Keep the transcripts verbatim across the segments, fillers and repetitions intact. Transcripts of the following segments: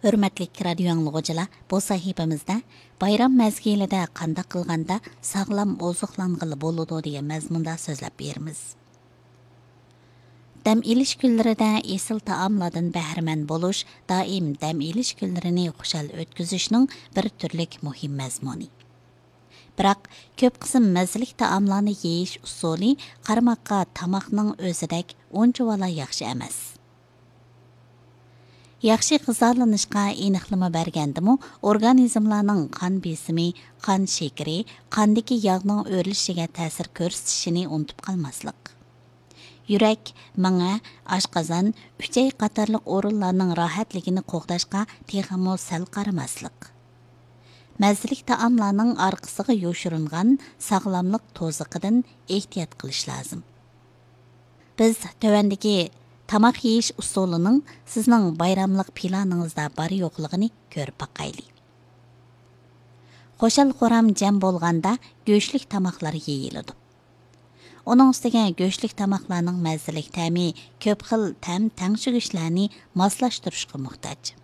ھۆرمەتلىك رادىيو ئاڭلىغۇچىلار، بۇ سەھىپىمىزدە بايرام مەزگىلىدە قانداق قىلغاندا ساغلام ئوزۇقلانغىلى بولىدۇ دېگەن مەزمۇندا سۆزلەپ بېرىمىز. دەم ئېلىش كۈنلىرىدە ئېسىل تائاملاردىن بەھرىمەن بولۇش دائىم دەم ئېلىش كۈنلىرىنى خۇشال ئۆتكۈزۈشنىڭ بىر تۈرلۈك مۇھىم مەزمۇنى. بىراق، كۆپ قىسىم مەززىلىك تائاملارنى يېيىش ئۇسۇلى قارىماققا تاماقنىڭ ئۆزىدەك ئۇنچىۋالا ياخشى ئەمەس. ياخشى غىزالىنىشقا ئېنىقلىما بەرگەندىمۇ، ئورگانىزملارنىڭ قان بېسىمى، قان شېكىرى، قاندىكى ياغنىڭ ئۆرلىشىگە تەسىر كۆرسىتىشىنى ئۇنتۇپ قالماسلىق. يۈرەك، مېڭە، ئاشقازان، ئۈچەي قاتارلىق ئورۇنلارنىڭ راھەتلىكىنى قوغداشقا تېخىمۇ سەل قارىماسلىق. مەززىلىك تائاملارنىڭ ئارقىسىغا يوشۇرۇنغان ساغلاملىق توزىقىدىن ئېھتىيات قىلىش لازىم. بىز تۆۋەندىكى تاماق يېيىش ئۇسۇلىنىڭ سىزنىڭ بايراملىق پىلانىڭىزدا بار-يوقلۇقىنى كۆرۈپ باقايلى. خۇشال-خۇرام جەم بولغاندا گۆشلۈك تاماقلار يېيىلىدۇ. ئۇنىڭ ئۈستىگە گۆشلۈك تاماقلارنىڭ مەززىلىك تەمى كۆپ خىل تەم تەڭشىگۈچلەرنى ماسلاشتۇرۇشقا موھتاج.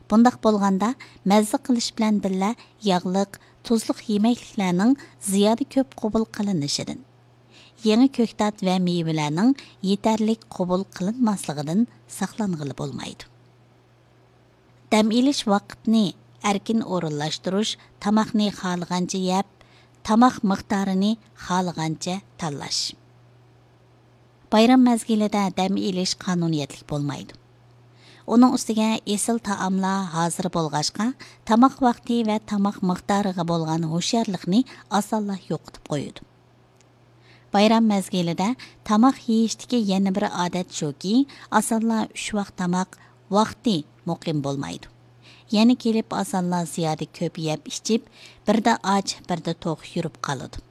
بۇنداق بولغاندا، مەززە قىلىش بىلەن بىللە ياغلىق، تۇزلۇق يېمەكلىكلەرنىڭ زىيادە كۆپ قوبۇل قىلىنىشىدىن، يېڭى كۆكتات ۋە مېۋىلەرنىڭ يېتەرلىك قوبۇل قىلىنماسلىقىدىن ساقلانغىلى بولمايدۇ. دەم ئېلىش ۋاقتىنى ئەركىن ئورۇنلاشتۇرۇش، تاماقنى خالىغانچە يەپ، تاماق مىقدارىنى خالىغانچە تاللاش. بايرام مەزگىلىدە دەم ئېلىش قانۇنىيەتلىك بولمايدۇ. ئۇنىڭ ئۈستىگە ئېسىل تائاملار ھازىر بولغاچقا، تاماق ۋاقتى ۋە تاماق مىقدارىغا بولغان ھوشيارلىقنى ئاسانلا يوقىتىپ قويىدۇ. بايرام مەزگىلىدە تاماق يېيىشتىكى يەنە بىر ئادەت شۇكى، ئاسانلا ئۈچ ۋاق تاماق ۋاقتى مۇقىم بولمايدۇ. يەنە كېلىپ ئاسانلا زىيادە كۆپ يەپ ئىچىپ، بىردە ئاچ، بىردە توق يۈرۈپ قالىدۇ.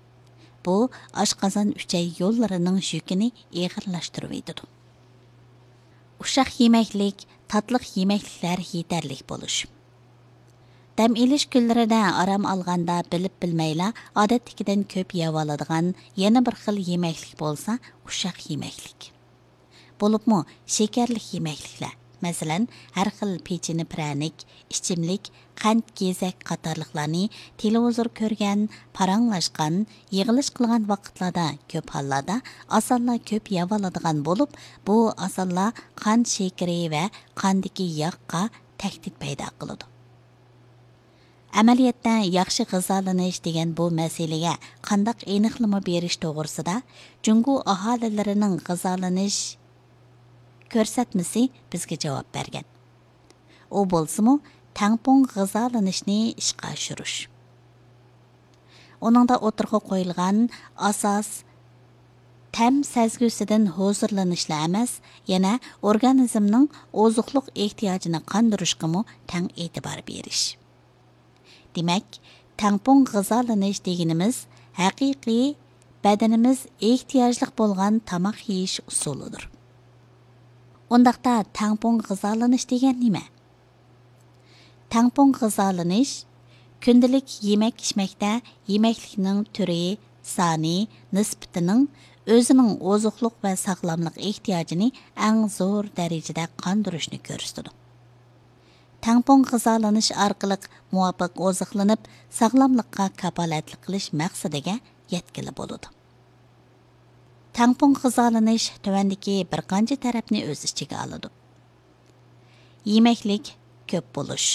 بۇ ئاشقازان ئۈچەي يوللىرىنىڭ يۈكىنى ئېغىرلاشتۇرۇۋېتىدۇ. ئۇششاق يېمەكلىك، تاتلىق يېمەكلىكلەر يېتەرلىك بولۇش. دەم ئېلىش كۈنلىرىدە ئارام ئالغاندا بىلىپ بىلمەيلا ئادەتتىكىدىن كۆپ يەۋالىدىغان يەنە بىر خىل يېمەكلىك بولسا ئۇششاق يېمەكلىك. بولۇپمۇ شېكەرلىك يېمەكلىكلەر، مەسىلەن، ھەر خىل پېچىنە پىرەنىك، ئىچىملىك، قەنت، گېزەك قاتارلىقلارنى تېلېۋىزور كۆرگەن، پاراڭلاشقان، يىغىلىش قىلغان ۋاقىتلاردا كۆپ ھاللاردا ئاسانلا كۆپ يەۋالىدىغان بولۇپ، بۇ ئاسانلا قان شېكىرى ۋە قاندىكى ياغقا تەھدىت پەيدا قىلىدۇ. ئەمەلىيەتتە، ياخشى غىزالىنىش دېگەن بۇ مەسىلىگە قانداق ئېنىقلىما بېرىش توغرىسىدا جۇڭگو ئاھالىلىرىنىڭ غىزالىنىش كۆرسەتمىسى بىزگە جاۋاب بەرگەن. ئۇ بولسىمۇ، تەڭپۇڭ غىزالىنىشنى ئىشقا ئاشۇرۇش. ئۇنىڭدا ئوتتۇرىغا قويۇلغان ئاساس تەم سەزگۈسىدىن ھۇزۇرلىنىشلا ئەمەس، يەنە ئورگانىزمنىڭ ئوزۇقلۇق ئېھتىياجىنى قاندۇرۇشقىمۇ تەڭ ئېتىبار بېرىش. دېمەك، تەڭپۇڭ غىزالىنىش دېگىنىمىز ھەقىقىي بەدىنىمىز ئېھتىياجلىق بولغان تاماق يېيىش ئۇسۇلىدۇر. ئۇنداقتا تەڭپۇڭ غىزالىنىش دېگەن نېمە؟ تەڭپۇڭ غىزالىنىش كۈندىلىك يېمەك-ئىچمەكتە يېمەكلىكنىڭ تۈرى، سانى، نىسبىتىنىڭ ئۆزىنىڭ ئوزۇقلۇق ۋە ساغلاملىق ئېھتىياجىنى ئەڭ زور دەرىجىدە قاندۇرۇشنى كۆرسىتىدۇ. تەڭپۇڭ غىزالىنىش ئارقىلىق مۇۋاپىق ئوزۇقلىنىپ، ساغلاملىققا كاپالەتلىك قىلىش مەقسىتىگە يەتكىلى بولىدۇ. تەڭپۇڭ غىزالىنىش تۆۋەندىكى بىر قانچە تەرەپنى ئۆز ئىچىگە ئالىدۇ. يېمەكلىك كۆپ بولۇش،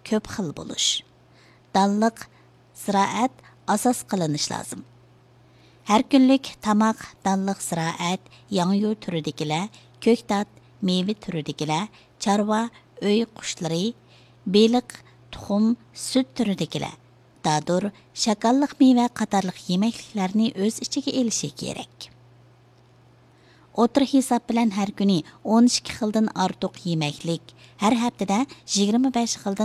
كۆپ خىل بولۇش، دانلىق زىرائەت ئاساس قىلىنىش لازىم. ھەر كۈنلۈك تاماق دانلىق زىرائەت، ياڭيۇ تۈرىدىكىلەر، كۆكتات، مېۋە تۈرىدىكىلەر، چارۋا، ئۆي قۇشلىرى، بېلىق، تۇخۇم، سۈت تۈرىدىكىلەر، دادۇر، شاكاللىق مېۋە قاتارلىق يېمەكلىكلەرنى ئۆز ئىچىگە ئېلىشى كېرەك. ئوتتۇرا ھېساب بىلەن ھەر كۈنى ئون ئىككى خىلدىن ئارتۇق يېمەكلىك، ھەر ھەپتىدە يىگىرمە بەش خىلدىن